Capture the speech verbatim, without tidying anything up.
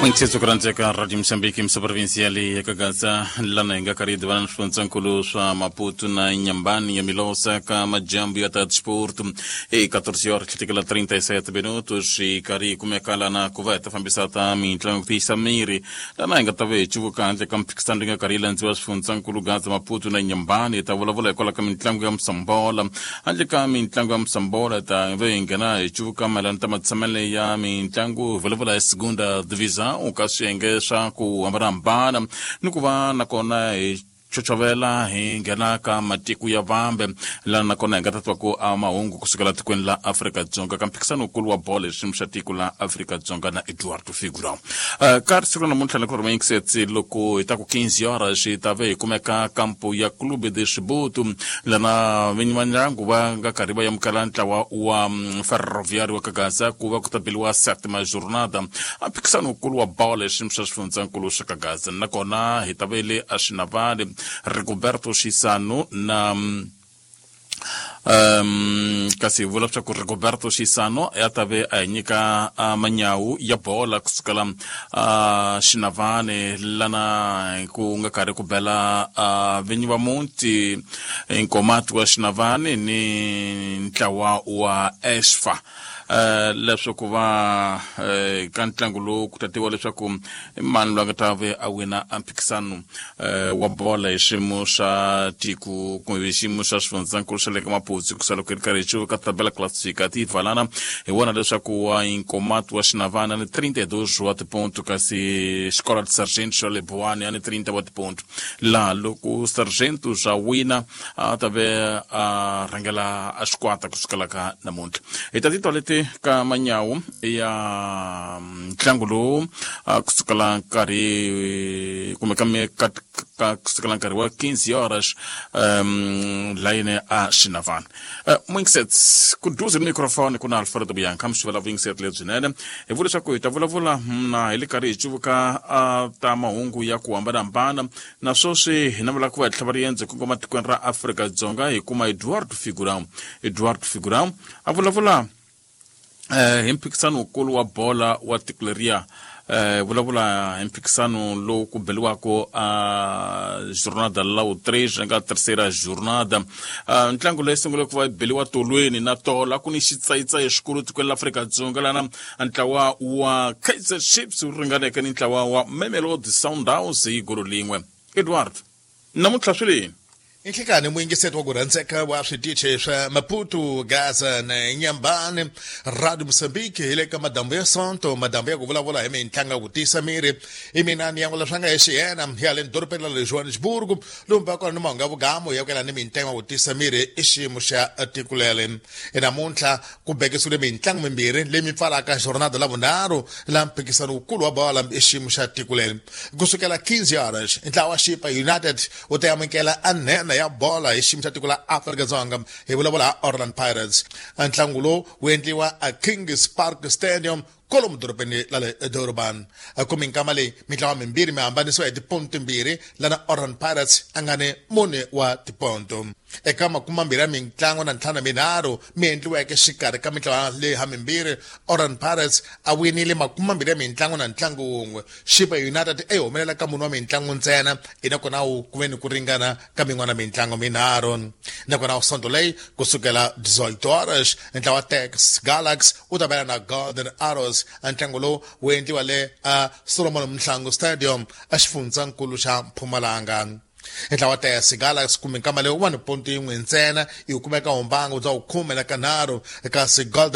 N'wingisetso ku rhandzeka Radio Mozambique misa provinsiali ya Kagaza lana hi nga karhi hi divana na swifundzankulu swa Maputo na Nyambani ya Milosa ka majambu ya ta sport e catorze horas tlhetekela trinta e sete minutos hi karhi hi kumeka lana ku va hi ta fambisa ta mitlangu ku tiyisa miri lana hi nga ta va hi cuvuka handle ka mphikisano leyi nga karhi yi landziwa swifundzankulu Gaza, Maputo na Nyambani. Hi ta vulavula hikwalaho ka mitlangu ya musambola. Handle ka mitlangu ya musambola, ta va hi nghena hi cuvuka mayelana ta matshamele ya mitlangu, hi vulavula hi segunda divisão ka swiyenge swa ku hambanahambana ni ku va nakona hi chochovela hi nghena ka matiko ya vambe lana nakona hi nga ta twa ku a mahungu kusukela tikweni la Afrika-Dzonga ka mphikisano wukulu wa bolo hi xiyimo xa tiko la Afrika-Dzonga na Eduardo Figura. uh, ka siku ra namuntlha ni ku ri mayingisetsi loko hi ta ku quinze horas hi ta ve hi kumeka kampo ya Clube de Chibuto lana vinyi va ndyangu va nga karhi va amukela ntlawa wa mm, Ferroviário wa Kagaza ku va ku ta beliwa sétima jornada a mphikisano wukulu wa bolo hi xiyimo xa xifundzankulu xa Kagaza. Nakona hi ta ve le a Xinavane, Rigoberto Xisano na um kasi hi vula leswaku Rigoberto Xisano ya ta ve a hi nyika uh, manyawu ya bola kusukela uh, Xinavane lana ku nga karhi ku bela uh, vinyi va muti Nkomati wa Xinavane ni ntlawa wa Esfa uh, leswaku va uh, ka ntlangu lowu ku ta tiviwa leswaku i mani loyi a nga ta ve a wina a mphikisano uh, wa bola hi xiyimo xa tiko kumbe xiyimo xa xifundzankulu xa le ka Maputsu. Kusa loko hi ri karhi hi cuvuka tabela classificativa lana hi vona leswaku wa Inkomati wa Xinavana ni trinta e dois wa tiponto, kasi Xikola de Sargento xa le Buwani a ni trinta wa tiponto, laha loko Sargento xa wina a ta ve a rhangela a xikwata kusukela ka namuntlha. Hi ta titwa leti ka manyawu ya ntlangu lowu kusukela nkarhi kumbe ka ka ka kusukela nkarhi wa quinze horas um layini a Xinavana. uh, mwingisets kuduze ni microphone ku na Alfredo Bianca mxivela vuyingiseri lebyinene. Hi vula leswaku hi ta vulavula na hi le karhi hi cuvuka uh, ta mahungu ya ku hambanahambana na sweswi hi navela ku va hi tlhava riendzo kongoma tikweni ra Afrika-Dzonga hi kuma Eduardo Figurão. Eduardo Figurão a vulavula eh, hi mphikisano wukulu wa bola wa tiko leriya, eh, vulavula hi mphikisano lowu ku beliwaka a jornada la três nga terceira jornada. uh, ntlangu leyi sungule ku va beliwa tolweni na tola ku ni xitsayitsayi xikulu tikweni la Afrika-Dzonga lana ntlawa wa Kaizer Chiefs wu ringaneke ni ntlawa wa Mamelodi Sundowns hi golo lin'we. Edward, namuntlha swi leni? Inhlekani muyingiseti wa ku rhandzeka wa switichi swa Maputo, Gaza na Nyambani, Radio Mozambique, hi le ka madambu ya Sonto, madambu ya ku vulavula hi mitlangu ya ku tiyisa miri. I mina ni yan'wela swa nga hi xiyena ya le dorobeni ra le Johannesburg, lomu va kona ni mahungu ya vugamu ya ku yelana ni mitlangu ya ku tiyisa miri i xiyimo xa tiko leri. Namuntlha ku bekisiwile mitlangu mimbirhi leyi mi pfalaka jornada la vunharhu la mphikisano wukulu wa bola i xiyimo xa tiko leri. Kusukela quinze horas, ntlawa wa Chipa United wu ta amukela anhena ya bola hi xiyimo xa tiko la Afrika-Dzonga, hi vulavula ha Orlando Pirates. Ntlangu lowu wu endliwa a Kings Park Stadium kolomu dorobeni la le Durban. Kumi nkama leyi mitlawa mimbirhi mi hambanisiwa hi tiponto timbirhi, lana Orlando Pirates a nga ni mune wa tiponto eka makume mambirhi ya mitlangu na ntlhanu minharhu mi endliweke xikarhi ka mitlawa leyi ha mimbirhi. Orlando Pirates a winile makume mambirhi ya mitlangu na ntlangu wun'we. Chipa United e humelela ka mune wa mitlangu ntsena, nakona wu ku ve ni ku ringana ka min'wana mitlangu minharhu. Nakona sonto leyi kusukela dezoito horas, ntlawa T S Galaxy wu ta bela na Golden Arrows. Ntlangu lowu wu endliwa le a Solomon Mhlangu Stadium exifundzankulu xa Mpumalanga. Ntlawa T S Galaxy kumbe nkama leyi wa ni ponto yin'we ntsena, yi kumeka humbangu bya khume na kanharhu, kasi Golden